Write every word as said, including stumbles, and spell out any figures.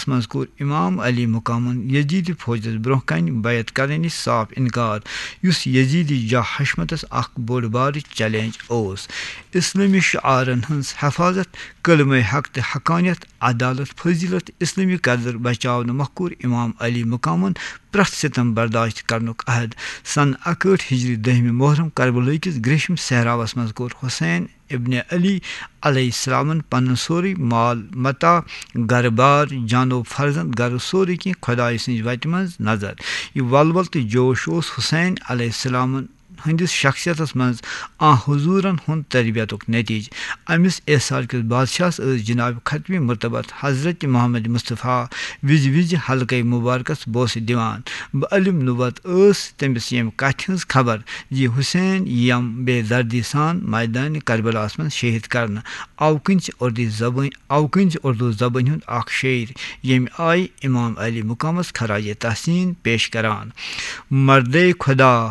منٛز کوٚر امام علی مقامن یزیدی فوجس برونٛہہ کنہِ بیعت کرنہٕ نِش صاف انکار، یُس یزیدی جاہ حشمتس اکھ بوٚڑ بارٕ چیلنج اوس۔ اسلٲمی شعارن ہٕنٛز حفاظت، کلمہ حق تہٕ حقانیت، عدالت، فضیلت، اسلٲمی قدر بچاونہٕ مۄکھ کوٚر امام علی مقامن پرٛٮ۪تھ ستم برداشت کرنُک عہد۔ سنہٕ اکہٲٹھ ہجری دٔہمہِ محرم کربلہٕ کِس گریشم صحراوس منٛز کوٚر حسین ابن علی علیہ السلامن پنُن سورُے مال متاع، گرٕ بار، جانو فرزند، گرٕ سورُے کینٛہہ خۄدایہِ سٕنٛزِ وتہِ منٛز نظر۔ یہِ ولول تہٕ جوش اوس حسین علیہ السلامن ہٕنٛدِس شخصیتس منٛز آ حضوٗرن ہُنٛد تربیتُک نتیجہٕ۔ أمِس ایثار کِس بادشاہس ٲس جناب ختمی مرتبت حضرت محمد مصطفیٰ وِزِ وِزِ حلقے مبارکس بوسہٕ دِوان۔ بہٕ علم نبوت ٲس تٔمِس ییٚمہِ کتھِ ہٕنٛز خبر زِ حسین یِم بے دردی سان میدان کربلاہس منٛز شہید کرنہٕ۔ اوٕ کِنۍ چھِ اردو زبٲنۍ، اوٕ کِنۍ چھِ اردو زبٲنۍ ہُنٛد اکھ شٲعر، ییٚمہِ آیہِ امام علی مقامس خراج تحسین پیش کران۔ مردے خدا